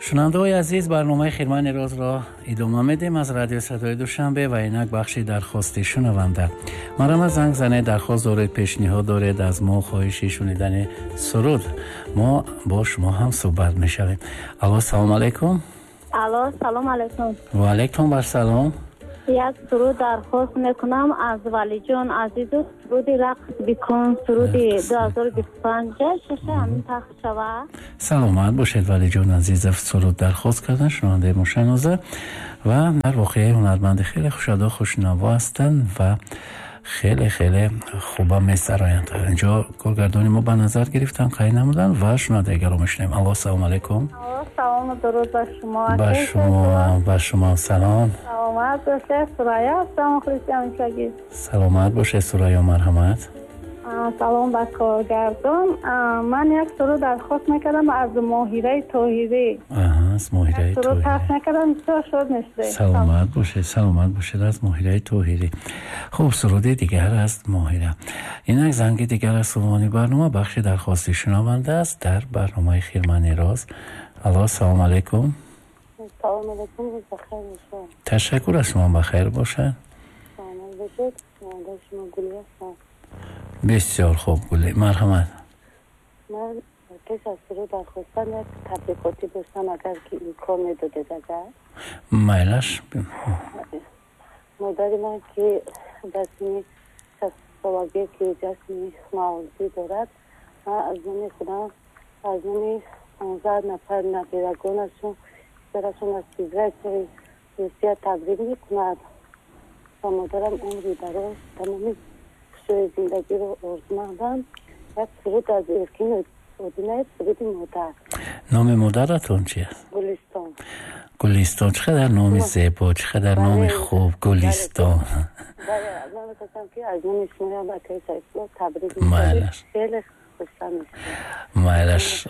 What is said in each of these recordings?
Шунавандаҳои азиз, барномаи Хирмани розро идома медиҳем аз радиои Садои Душанбе ва инак бахши дархости шунаванда. Марҳамат, занг занед, дархост доред, пешниҳод доред, аз мо хоҳиши шунидани суруд, мо бо шумо ҳам суҳбат мешавем. Алло, салом алайкум. Алло, салом алайкум. Ва алайкум ассалом. Як суруд дархост мекунам аз Валиҷон Азизов, суруди «Рақс бикун», суруди 2025 шаша ҳамин пахш шава. Саломат бошед. Валиҷон Азизов суруд дархост кардан, шунавандаи мушаноза ва дар воқеа ҳунарманди хеле хушадо, хушнаво ҳастанд ва хеле хеле хуба месароянд. Инҷо коргардони мо ба назар гирифтан, қайд намуданд ва шунавандагаро мешунавем. Алло, салом алайкум. Салому дуруд ба шумо. Ба шумо, ба шумо салом. Саломат бошед. Сурая ҳастам, мухлиси ҳамешагӣ. Саломат бошед, Сурайё, марҳамат. Салом ба коргардон. Ман як суруд дархост мекардам аз Моҳираи Тоҳирӣ. Аз Моҳираи суруд пахш мекардам, бисёр шод мешудем. Саломат бошед, саломат бошед. Аз Моҳираи Тоҳирӣ хуб суруди дигар аст Моҳира. Инак занги дигар аз сувони барнома, бахши дархости шунаванда аст дар барномаи Хирмани роз. Алло, салом алайкум. Салом алайкум, рӯз бахайр бошад. Ташаккур, аз шумо бахайр бошад. Саломат бошед. Шунавандаи шумо Гули ҳастам. Бисёр хуб, Гули, марҳамат. Ман пеш аз суруд дархостан як табрикотӣ доштам, агар ки имкон медодед, агар. Майлаш. Модари ман, ки дар синни 60-солагӣ, ки ҷашни мавлудӣ дорад, ман аз номи худам, аз номи 15 нафар набирагонашон, писарашон аз Федератсияи Русия табрик мекунад ва модарам умри дароз, тамоми хушҳои зиндагиро орзумандам. Як суруд аз Эркин Одинаев, суруди «Модар». Номи модаратон чи аст? Гулистон. Гулистон, чӣ қадар номи зебо, чӣ қадар номи хуб, Гулистон. Бале, ман мехостам, ки аз номи шумоям, акаи Сайфулло, табрик. Майлаш. Хеле хурсанд мешавам. Майлаш,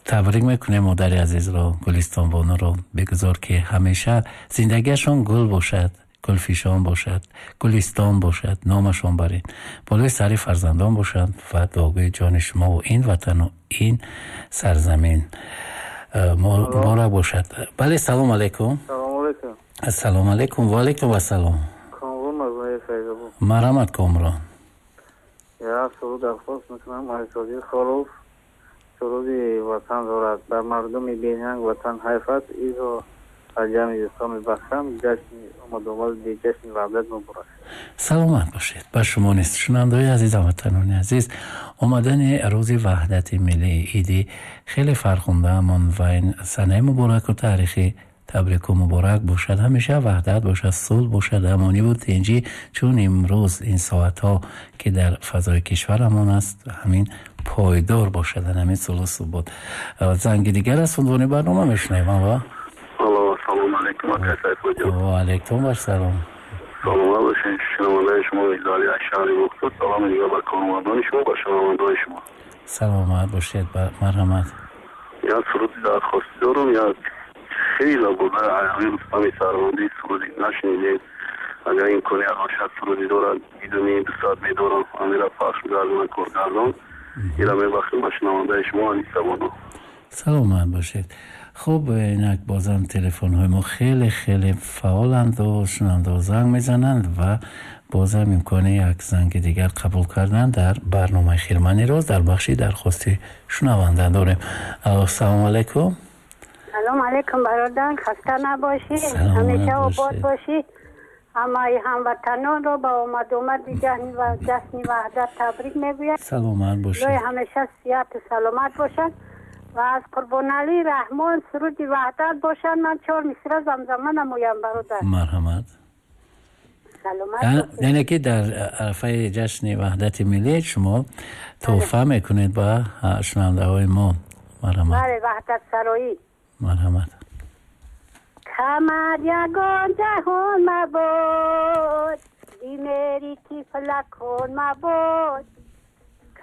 табрик мекунем модари азизро, Гулистон бонуро. Бигузор, ки ҳамеша зиндагиашон гул бошад, гулфишон бошад, гулистон бошад, номашон барин болои сари фарзандон бошанд ва дуогӯи ҷони шумову ин ватану ин сарзамин муборак бошад. Бале, салом алайкум. Салом алайкум. Ассалому алайкум, ва алайкум ассалом. Комрон аз ноҳияи Файзобод. Марҳамат, Комрон. Як суруд дархост мекунам аз Содиқ Холов, суруди «Ватан» дорад. Ба мардуми бенанг ватан ҳайф аст, изо аз ҷамъи дӯстон мебахшам. Ҷашни омадомади ҷашни Ваҳдат муборак. Саломат бошед. Ба шумо низ. Шунавандаҳои азиз, ҳамватанони азиз, омадани рӯзи ваҳдати миллӣ, иди хеле фархундаамон ва ин санаи мубораку таърихӣ табрику муборак бошад. Ҳамеша ваҳдат бошад, сулҳ бошад, амониву тинҷӣ, чун имрӯз ин соатҳо, ки дар фазои кишварамон аст, ҳамин пойдор бошад, ҳамин сулҳу субот. Занги дигар аз унвони барнома мешунавем. Алло. Алло, салом алейкум, акай Сайфулло. Ва алейкум ассалом. Саломат бошед. Шунавандаи шумо Издали аз шаҳри Бухтур. Салом дигар ба кормандони шумо, ба шунавандаҳои шумо. Саломат бошед, марҳамат. Як суруди дархостӣ дорам, як хеле буда, ҳамин Рустами Сарвандӣ суруди нашунидем. Агар имконият бошад, суруди дорад, бидуни 2 соат медорам, ҳамира пахш гардона, коргардон. Ира мебахшем ба шунавандаи шумо Аниса Бону. Саломат бошед. Хуб, инак бозам телефонҳои мо хеле хеле фаъоланду шунавандаҳо занг мезананд ва бозам имкони як занги дигар қабул кардан дар барномаи Хирмани роз дар бахши дархости шунаванда дорем. Алло, салому алайкум. Салом алейкум, бародар, хаста набошӣ. Саломат ҳамеша обод бошед. бошӣ. Ҳамаи ҳамватанонро ба омадомади ҷашни Ваҳдат табрик мегӯям. Саломат бошед. Илоҳи ҳамеша сиҳату саломат бошанд ва аз Қурбоналӣ Раҳмон суруди «Ваҳдат» бошанд, ман чор мисра замзама намоям, бародар. Марҳамат. Саломат бошед. Яъне ки дар арафаи ҷашни ваҳдати миллӣ шумо тӯҳфа мекунед ба шунавандаҳои мо. Марҳамат. Бале, ваҳдатсароӣ. Марҳамат. Камар ягон ҷаҳон мабод, бимери тифлакон мабод.